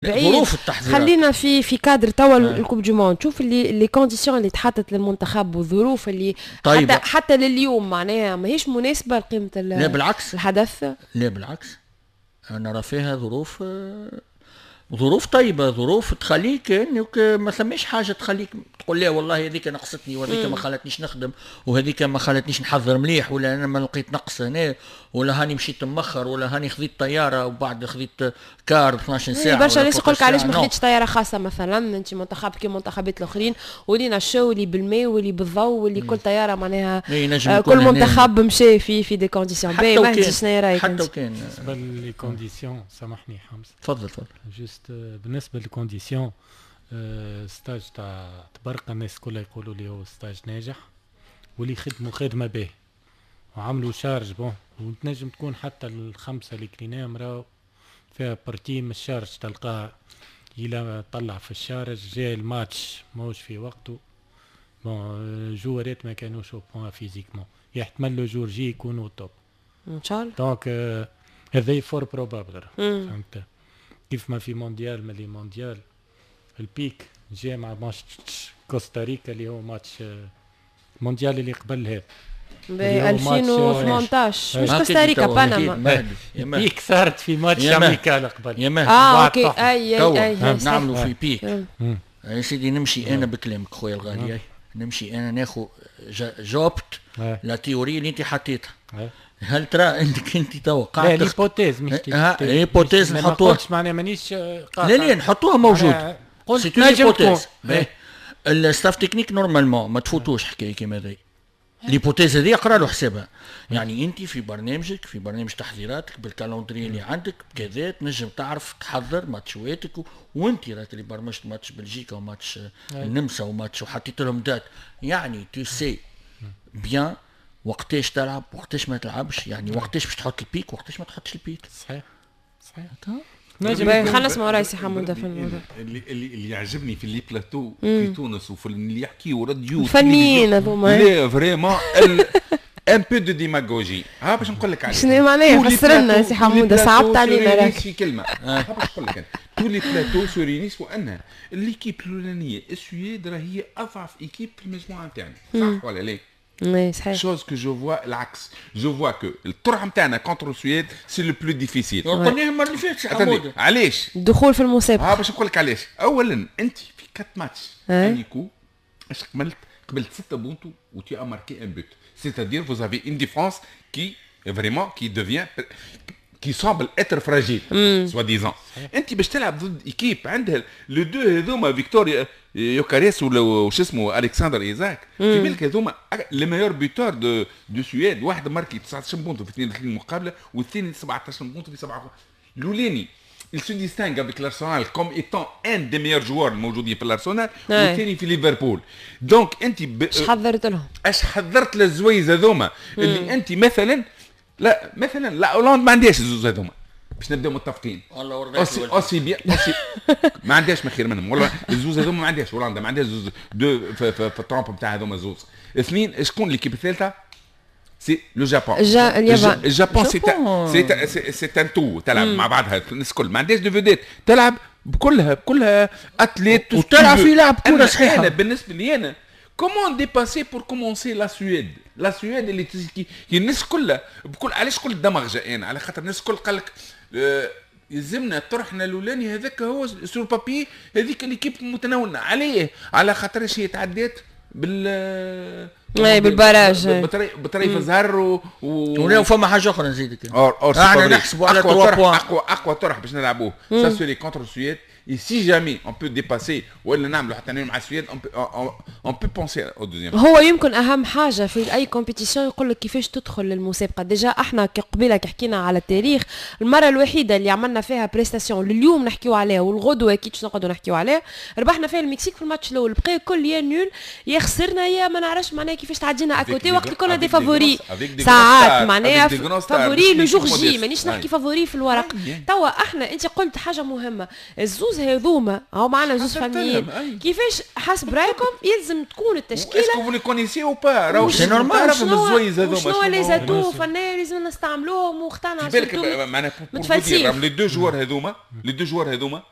بعيد. ظروف التحضيرات. خلينا في كادر توا ال coupe du monde، شوف اللي les conditions اللي تحطت للمنتخب والظروف اللي طيب. حتى لليوم معناها ماهيش مناسبة لقيمة لا بالعكس الحدث. لا بالعكس، انا راه فيها ظروف، ظروف طيبه، ظروف تخليك انك ما ثماش حاجة تخليك تقول لا والله هذيك نقصتني وهذيك ما خلتنيش نخدم وهذيك ما خلتنيش نحضر مليح، ولا انا ما لقيت نقص هنا، ولا هاني مشيت مخر، ولا هاني خذيت طيارة وبعد خذيت car 12 ساعه. برشا ناس يقول لك علاش ما خذيتش طيارة خاصة مثلا، انت منتخب كي منتخبات الاخرين ولينا ال show اللي بالماء واللي بالضوء واللي كل طيارة معناها كل منتخب مشى في des conditions باهي. مهدي شنو رايك؟ حتى وكان بالنسبة les conditions، سامحني حمزه. تفضل تفضل. juste بالنسبة لل conditions، stage تاع تبرقة الناس كلها يقولوا لي هو stage ناجح واللي خدموا خدمة به وعملوا charge bon، وتنجم تكون حتى الخمسة اللي كليناهم راهو فيها partie من ال charge، تلقاه إلى طلع في ال charge، جاي الماتش ماهوش في وقته، bon joueur ات ما كانوش au point physiquement، يحتمل le jour J يكونوا top. ان شاء الله. donc هذا fort probable، فهمت؟ كيف ما في مونديال من les mondials ال pic جاء مع ماتش كوستاريكا اللي هو ماتش مونديال اللي قبل هذا. ب 2018 مش كوستاريكا، بنما. pic صارت في match amical قبل. يا مهدي. اه OK، اي اي اي. نعملوا في pic يا سيدي. نمشي انا بكلامك خويا الغالي، نمشي انا ناخذ j'opte la théorie اللي انت حطيتها. هل ترى انك انت تو قاعد لا l'hypothèse مش l'hypothèse نحطوها. معناها مانيش لا لا، نحطوها موجود. قلت نجم تكون. ال staff technique normalement ما تفوتوش حكاية كيما هذي، l'hypothèse هذه اقرا له حسابها. يعني انت في برنامجك، في برنامج تحضيراتك، بال calendrier اللي عندك كذا، تنجم تعرف تحضر ماتشواتك وانت راك اللي برمجت ماتش بلجيكا وماتش النمسا وماتش وحطيت لهم dates، يعني tu sais bien وقتاش تلعب وقتاش ما تلعبش، يعني وقتاش باش تحط ال pic وقتاش ما تحطش ال pic. صحيح صحيح. خلينا نسمعوا راي سي حموده في الموضوع. اللي يعجبني في les plateaux في تونس وفي اللي يحكيوا راديو الفنيين هذوما. لا vraiment un peu de démagogie. ها باش نقول لك علاش. شنو معناها؟ فسر لنا سي حموده، صعبت علينا راك. في كلمه، ها باش نقول لك انا، tous les plateaux se réunissent وانها l'équipe الاولانية السويد راه هي اضعف équipe في المجموعة نتاعنا، صح ولا لا؟ oui صحيح. chose que je vois العكس، je vois que الطرح نتاعنا contre السويد c'est le plus difficile. قلناها المرة اللي فاتت حموده. علاش؟ الدخول في المسابقه. ها باش نقول لك علاش. اولا انت في quatre matchs amicaux اش قبلت؟ قبلت 6 بونتو و tu as marqué un but، c'est-à-dire vous avez une défense qui vraiment qui devient qui semble être fragile soi-disant. انت باش تلعب ضد équipe عندها les deux هذوما، فيكتور يوكاريس ولا وش اسمه الكسندر ايزاك، في بالك هذوما les meilleurs buteurs de Suède، واحد marqué 19 بونتو في 32 مقابله والثاني 17 بونتو في 7. الاولاني il se distingue avec l'Arsenal comme étant un des meilleurs joueurs الموجودين في الارسنال، والثاني في ليفربول. donc انت اش حضرت لهم؟ اش حضرت للزويز هذوما اللي انت مثلا لا مثلا لا هولندا ما عندهاش الزوز هذوما، باش نبداو متفقين. aussi aussi bien aussi ما عندهاش ما خير منهم والله الزوز هذوما، ما عندهاش هولندا، ما عندهاش زوز deux في ال trempe نتاع هذوما زوز. اثنين، شكون l'équipe الثالثه؟ c'est le Japon. اليابان. ال Japon c'est un tout، تلعب مع بعضها الناس الكل، ما عندهاش des vedettes، تلعب بكلها athlètes. وتلعب في لعب كره صحيحه. انا بالنسبة لي انا comment dépasser pour commencer la Suède، la Suède اللي الناس كلها بكل، علاش قلت دمغجه انا؟ على خاطر الناس الكل قال لك يلزمنا طرحنا الاولاني هذاك هو sur papier هذيك l'équipe متناولنا عليه، على خاطر هي تعدات بال اي بال barrage. بطريف زهر و فما حاجة اخرى نزيدك. or احنا نحسبوا على 3 points. اقوى اقوى طرح باش نلعبوه ça serait contre السويد، et si jamais on peut dépasser ولا نعملوا حتى مع السويد on peut penser au deuxième. هو يمكن اهم حاجة في اي compétition يقول لك كيفاش تدخل للمسابقه. déjà احنا قبيلة كي حكينا على التاريخ، المرة الوحيدة اللي عملنا فيها prestation لليوم نحكيو عليها والغدوه اكيد باش نقعدوا نحكيو عليها، ربحنا فيها المكسيك في الماتش الاول. بقى كل يا nul يا خسرنا يا ما نعرفش معناها كيفاش تعدينا à côté وقت كنا des favoris ساعات، معناها favoris le jour J، مانيش نحكي favori في الورق. توا احنا انت قلت حاجة مهمه، الزوز هذوما هاو معنا زوز فنيين، كيفاش حسب رايكم يلزم تكون التشكيله؟ est-ce que vous les connaissez ou pas؟ راهو c'est normal. تعرفهم الزويز هذوما. شنو les atouts فنيا لازم نستعملوهم واختارنا بالك معناها متفلسفين. les deux joueurs هذوما، les deux joueurs هذوما.